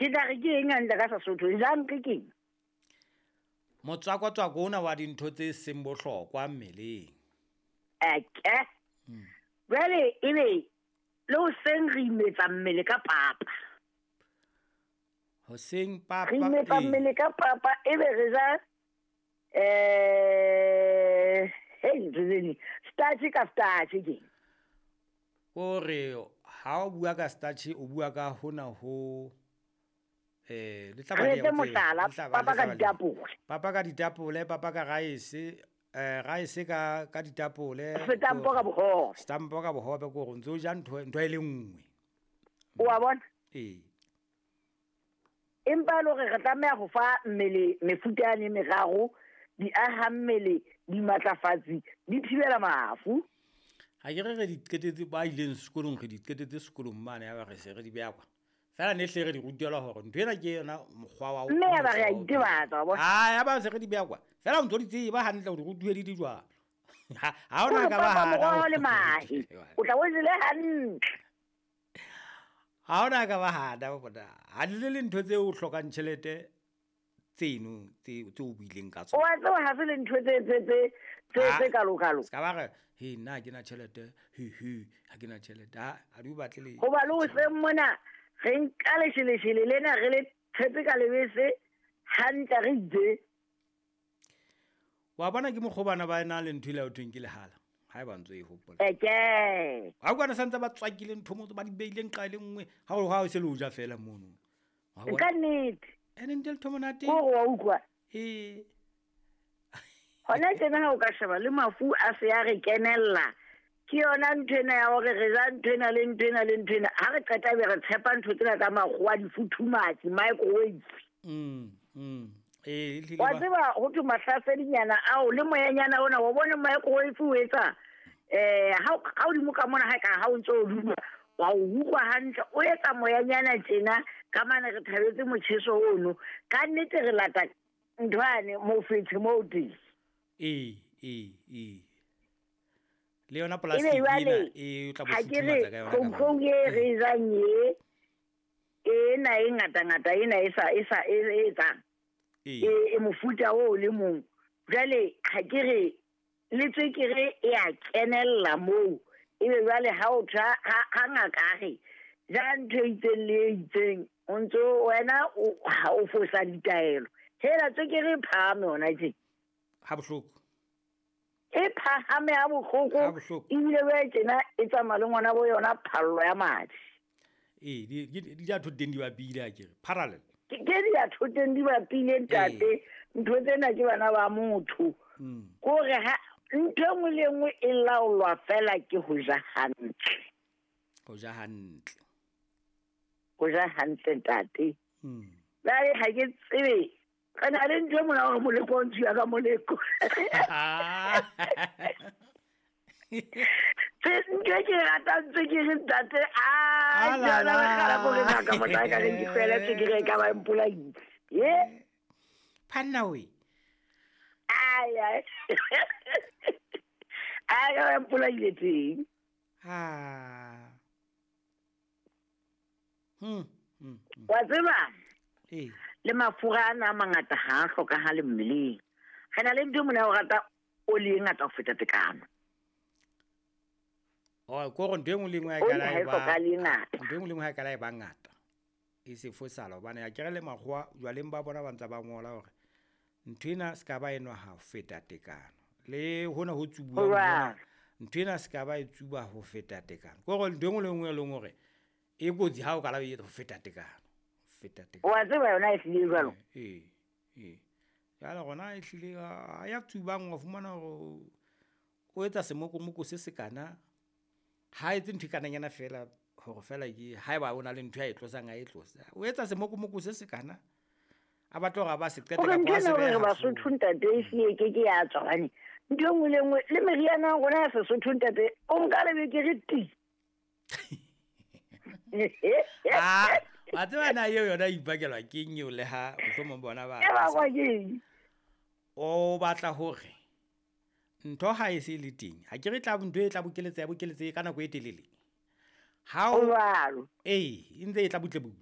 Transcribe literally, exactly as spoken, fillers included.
Ke tla re ke eng hantle ka Sesotho? Junk ke eng? Motswakotswako ona wa dintho tse seng bohlokwa mmeleng. Eke. Jwale ebe le hoseng re imetsa mmele ka papa. Hoseng papa. Re imetsa ee. mmele ka papa ebe re ja eh hey ntho tse ding. Starch ka starch ke. Kore ha o bua ka starch o bua ka hona ho eh le tla ba Re le etse ya ho tseba, mohlala, le tla ba- papa le tla ka ba le- ditapole. Papa ka ditapole, papa ka rice, eh rice ka ka ditapole. Setampo ka bohobe. Setampo ka bohobe ke hore o ntso o ja ntho ntho e le nngwe. O wa bona? Ee. Empa le hore re tlameha ho fa mmele mefuta yane e meraro, di aha mmele, di matlafatsi, di thibela mafu. Ha ke re re di qetetse ba ileng sekolong re di qetetse sekolong mane ya ba re se re di beha kwa. Feela ne hle re di rutelwa hore ntho ena ke yona mokgwa wa ho Mme ya ba re a wa ho itebatsa, wa bona? Ah, ya ba se re di beha kwa. Feela o ntso di tseba hantle o di rutuwe di di jwang. Ha ha hona Hore ka ba papa hana moroho ho- le mahe. O tla o jele hantle. Ha hona ka ba hana bona. Ha di le le ntho tse o hlokang tjhelete tseno tse tse o buileng ka O tsona. wa tseba ha se le ntho tse tse tse tse Ah, tse kalokalo. Se ka ba re, he nna ha ke na tjhelete, he he ha ke na tjhelete. Ha ha di o batle le. Hoba le hoseng mona re nka lesheleshele lena re le tshetse ka lebese hantle re ije. Wa bona ke mokgwa bana ba na le ntho ile ya ho thweng ke lehala. Ha eba ntso e hopola. Eke. Ha o kwana santse ba tswakile ntho mo ba di beileng nqa e le nngwe. Ha o ha o se le o ja fela mono. Wa bona? Ka nnete. Ene ntle le monate. Kore wa utlwa. Ee. Hona tjena ha o ka sheba le mafu a se a re kenella. Ke yona ntho ena ya hore re ja ntho ena le ntho ena le ntho ena. Ha re qeta be re tshepa ntho tsena tsa makgowa, difuthumatsi, microwave. Mm, mm. Ee, ehlile Wa ba- tseba ho thwe mahlasedinyana ao le moyanyana ona, wa bona microwave o etsa eh ha o- ha hodimo ka mona ha ka ha o ntso o dula, wa o utlwa hantle, o etsa moyanyana tjena ka mane re thabetse motjheso ono. Ka nnete re lata ntho yane mofetshe moo teng. Ee, ee, ee. Le yona Ebe plastic jwale, ena, e o tla bo ha ke re futhumatsa ka yona ka kgoukgou mane. e re jang e, ena e ngata-ngata ena e sa, e sa, e, e etsang. Ee. E, e mofuta oo le mong. Jwale ha ke re le tswekere e a kenella moo. Ebe jwale ha o tjha, ha, ha ngaka a re ja ntho e itseng le e itseng, o ntso wena o, ha o fosa ditaelo. Hela tswekere e phahame hona tje. Ha bohloko. E phahame ha bohloko. Ha bohloko. Ebile jwale tjena e tsamaya le ngwana bo yona phallo ya madi. Ee, di, di, di ja thoteng di bapile akere, parallel. Ke, ke di ya thoteng di bapile ntate. Ee. Ntho tsena ke bana ba motho. Mm. Kore ha ntho e nngwe le e nngwe e laolwa fela ke ho ja hantle. Ho ja hantle. Ho ja hantle ntate. Mm. Jwale ha ke tsebe. Re na le ntho e mona hore moleko o ntshiwa ka moleko. Tse ntho e ke e ratang tswekere ntate, ah, Ah, la, ke yona la. lekgala kore ngaka motho a ka reng ke tlohele tswekere e ka ba e mpolaile. Ye? Phanna we. Ai, ai. Ai, ka ba e mpolaile teng. Ha. Hmm, hmm, hmm. Wa tseba? Ee. Le mafura ana a mangata ha a hlokahale mmeleng. Re na le ntho e mona ya ho rata oli e ngata ho feta tekano. Oh, ko re ntho e nngwe le e nngwe ha e Oli ka la ha e e ba- hlokahale e ngata. Ntho e nngwe le e nngwe ha e ka la e ba ngata. E se fosala hobane akere le makgowa jwaleng ba bona ba ntse ba ngola hore ntho ena se ka ba enwa ha ho feta tekano. Le hona ho tsubuwang Ho hona, jwalo. ntho ena se ka ba e tsuba ho feta tekano. Ke hore ntho e nngwe le e nngwe e leng hore e kotsi ha o ka la e etsa ho feta tekano. Ho feta tekano. Wa tseba yona e hlile jwalo? Ee, ee. Jwale rona ehlile ha ya tsubang wa fumana hore o etsa semokomoko se sekana. Ha etse ntho e kananyana feela hore feela ke haeba o na le ntho ya e tlosang a e tlosa. O etsa semokomoko se sekana. A batla hore a ba se qete Hore kapa ntho a se ena hore behe re hafo. Basotho ntate e hlile e ke ke ya tswa hobane ntho e nngwe le e nngwe le meriana ya rona ya Sesotho ntate o nka lebekere ti. Ah, wa tseba na eo yona e ipakelwa ke eng eo le ha mohlomong bona ba E bakwa ke eng? O batla hore ntho ha e se le teng. Ha ke re tla ntho e tla bokeletsa ya bokeletsa ka nako e telele. Ha o Ho jwalo. Ee, e ntse e tla butle butle.